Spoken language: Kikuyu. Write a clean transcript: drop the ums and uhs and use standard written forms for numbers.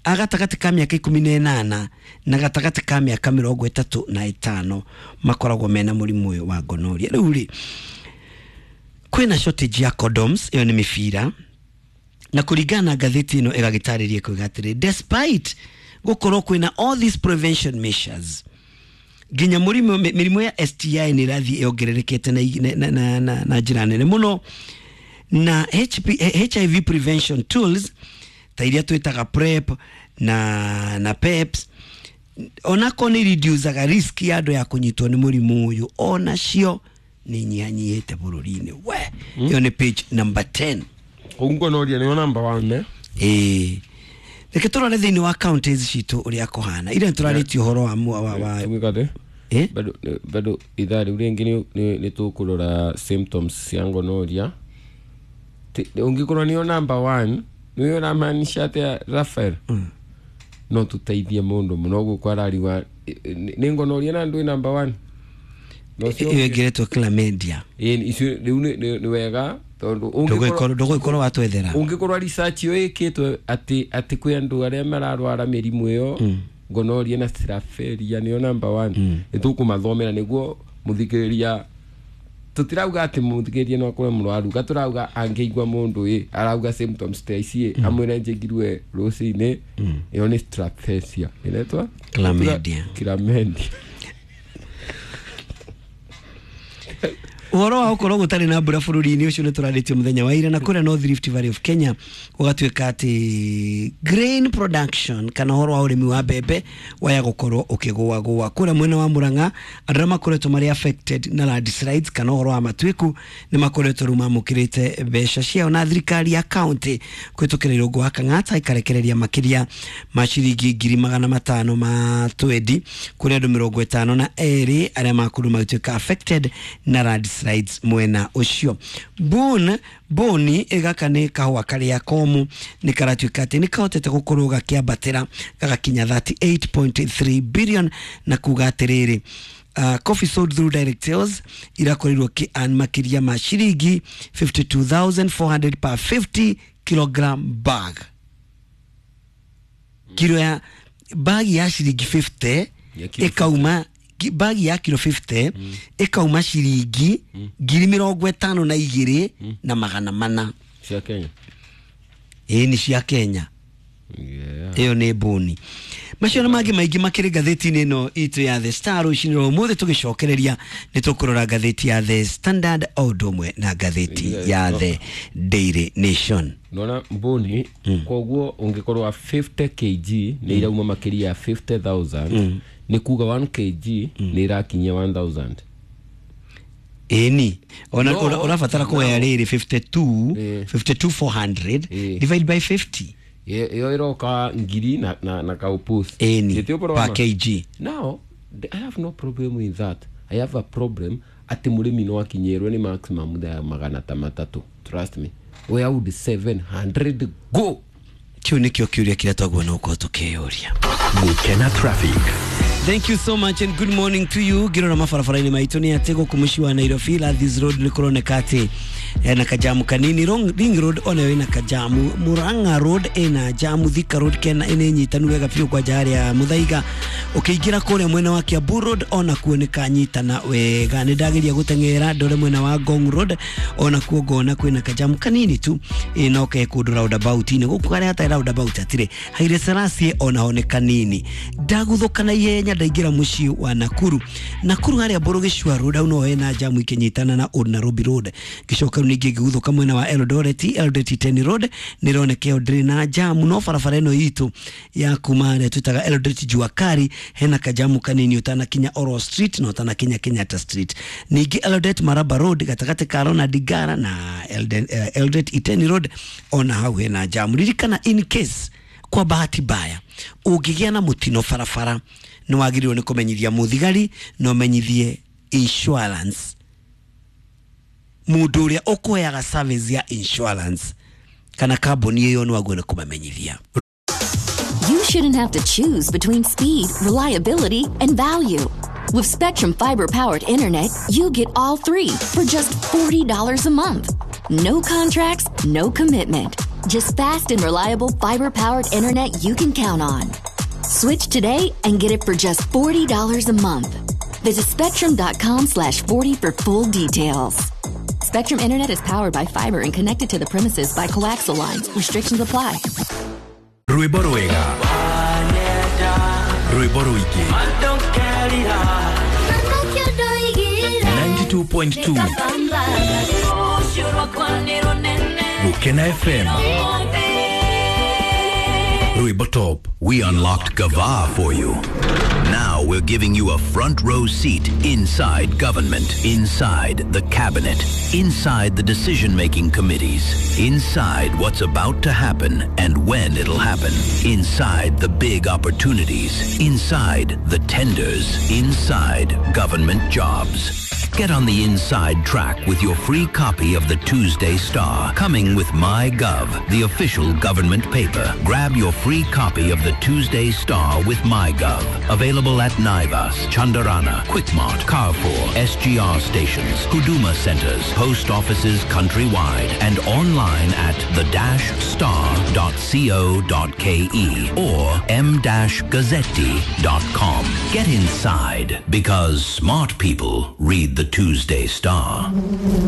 A gatagatĩ ka mĩaka 18 na gatagatĩ ka mĩaka 35 makoragwo mena mũrimũ ũyũ wa gonorrhea. Rĩu rĩ, kwĩna shortage ya condoms, ĩyo nĩ mĩbira, na kũringana na ngathĩti ĩno ĩgagĩtarĩria kuga atĩrĩ, despite gũkorwo kwĩna all these prevention measures, nginya mũrimũ mĩrimũ ya STI nĩ ĩrathiĩ yongererekete na njĩra nene mũno, na HIV prevention tools ta iria twĩtaga PrEP na PEPs, onako nĩ reducaga risk ya andũ ya kũnyitwo nĩ mũrimũ ũyũ, onacio nĩ nyihanyihĩte bũrũri-inĩ. We, ĩyo nĩ page number 10. Kũu gonorrhea nĩyo number one, eh? Ĩĩ, reke tũrore thĩinĩ wa counties citũ ũrĩa kũhana. Ira nĩtũrarĩtie ũhoro wa Tugĩkate. Eh? Bado ithaa rĩu rĩngĩ nĩ tũkũrora symptoms cia gonorrhea. Ũngĩkorwo nĩyo number one, nĩyo ũramaanisha atĩa, Rafael? No tũteithie mũndũ mũno gũkũ arariwa nĩ gonorrhea na ndwĩ number one. No cio Ĩyo ĩngĩretwo chlamydia. Ĩĩ, icio rĩu nĩ wega tondũ ũngĩkorwo Ndũgũgĩkorwo watwethera. Ũngĩkorwo research ĩyo ĩkĩtwo atĩ kwĩ andũ arĩa mararwara mĩrimũ ĩyo, gonorrhea na straferia nĩyo number one, nĩ tũkũmathomera nĩguo mũthikĩrĩria. Tũtirauga atĩ mũthikĩrĩria no akorwo mũrwaru, ga tũrauga angĩigua mũndũ ĩ arauga symptoms ta ici ĩ, amwĩre njĩngirwe rũcinĩ, ĩyo nĩ straferia ĩretwa Chlamydia. Chlamydia. Ũhoro wa gũkorwo gũtarĩ na mbura bũrũri-inĩ ũcio nĩ tũrarĩtie mũthenya wa ira, na kũrĩa North Rift Valley of Kenya gũgatuĩka atĩ grain production kana ũhoro wa ũrĩmi wa mbembe waya gũkorwo ũkĩgũagũa. Kũrĩa mwena wa Murang'a, andũ arĩa makoretwo marĩ affected na landslides kana ũhoro wa matuĩku nĩ makoretwo rĩu mamũkĩrĩte mbeca ciao, na thirikari ya county kũhĩtũkĩra Irũngũ wa Kang'ata ĩkarekereria makĩria ma ciringi 520,000 ma twendi kũrĩ andũ 52 arĩa makorirwo magĩtuĩka affected na landslides mwena ũcio. Boni ĩgaka nĩ kahũa karĩa komu nĩ karatuĩka atĩ nĩ kahotete gũkorwo gakĩambatĩra gagakinya 38.3 billion, na kuga atĩrĩrĩ, coffee sold through direct sales irakorirwo ki earn makĩria ma ciringi 52,400 per 50 kilogram bag. Kiro ya bagi ya ciringi 50 Ya kilo. Ĩkauma bagi ya kilo 50 ĩkauma ciringi 52,400. Cia Kenya? Ĩĩ, nĩ cia Kenya. Ĩyo nĩ mbũni. Macio na mangĩ maingĩ makĩrĩ ngathĩti-inĩ ĩno itũ ya The Star rũcinĩ rwa ũmũthĩ. Tũgĩcokereria nĩ tũkũrora ngathĩti ya The Standard o ũndũ ũmwe na ngathĩti ya The Daily Nation. Nona mbũni, koguo ũngĩkorwo wa 50 kg nĩ irauma makĩria ya 50,000, nĩ kuga 1 kg nĩ irakinyia 1000. Ĩni ona No, ũrabatara kuoya rĩrĩ 52 52,400 divide by 50. Ĩyo ĩroka ngiri na kaupus. Ĩni Gĩtĩ ũhoro per wa ma? kg. Now I have no problem with that. I have a problem atĩ mũrĩmi no akinyĩrwo nĩ maximum ya 300. Trust me, where would 700 go? Kĩu nĩkĩo kĩũria kĩrĩa twaguo no gũkorwo tũkĩyũria. Gukena Traffic. Thank you so much and good morning to you. Ngirora mabarabara-inĩ maitũ nĩ atĩ gũkũ mũciĩ wa Nairobi, Landhies Road nĩ kũroneka atĩ ena kajamu kanini. Ring Road onayo ĩna kajamu, Murang'a Road ĩna jamu, Thika Road kena ĩnĩ nyitanu wega biũ kwanja harĩa Muthaiga. Ũkĩingĩra kũrĩa mwena wa Kiambu Road onakuo nĩ kanyitana wega. Nĩ ndageria gũteng'era ndore mwena wa Ngong Road, onakuo ngona kwĩna kajamu kanini tu, ĩ no ke kũndũ roundabout-inĩ gũkũ harĩa hatarĩ roundabout hatirĩ. Haile Selassie onaho nĩ kanini. Ndaguthũka na ihenya ndaingĩra mũciĩ wa Nakuru. Nakuru harĩa Mbũrũ Road hau no hena jamu ikĩnyitana na Old Nairobi Road. Ngĩcoka rĩu ningĩ ngĩguthũka mwena wa Eldoret, Eldoret Iten Road nĩroneka ĩyo ndĩrĩ na jamu, no barabara ĩno itũ ya kuma harĩa twĩtaga Eldoret Jua Kali hena kajamu kanini ũtanakinya Oro Street na ũtanakinya Kenyatta Street. Ningĩ Eldoret Maraba Road gatagatĩ ka Ronald Ngara na Eldoret Iten Road ona hau hena jamu. Ririkana, in case kwa bahati mbaya ũngĩgĩa na mũtino barabara, nĩ wagĩrĩirwo nĩ kũmenyithia mũthigari na ũmenyithie insurance, mũndũ ũrĩa ũkũheaga service ya insurance kana kambuni ĩyo nĩ wagĩrĩirwo nĩ kũmamenyithia. You shouldn't have to choose between speed, reliability, and value. With Spectrum Fiber powered internet, you get all three for just $40 a month. No contracts, no commitment. Just fast and reliable fiber powered internet you can count on. Switch today and get it for just $40 a month. Visit spectrum.com/40 for full details. Spectrum Internet is powered by fiber and connected to the premises by coaxial lines. Restrictions apply. Rwĩmbo rwega, rwĩmbo rũingĩ, 92.2 Gukena FM, Rwĩmbo Top. We unlocked Gava for you. Now we're giving you a front row seat inside government, inside the cabinet, inside the decision making committees, inside what's about to happen and when it'll happen, inside the big opportunities, inside the tenders, inside government jobs. Get on the inside track with your free copy of the Tuesday Star, coming with MyGov, the official government paper. Grab your free copy of the Tuesday Star with MyGov. Available at Naivas, Chandarana, Quickmart, Carrefour, SGR stations, Huduma centers, post offices countrywide, and online at the-star.co.ke or m-gazzetti.com. Get inside because smart people read the Tuesday Star.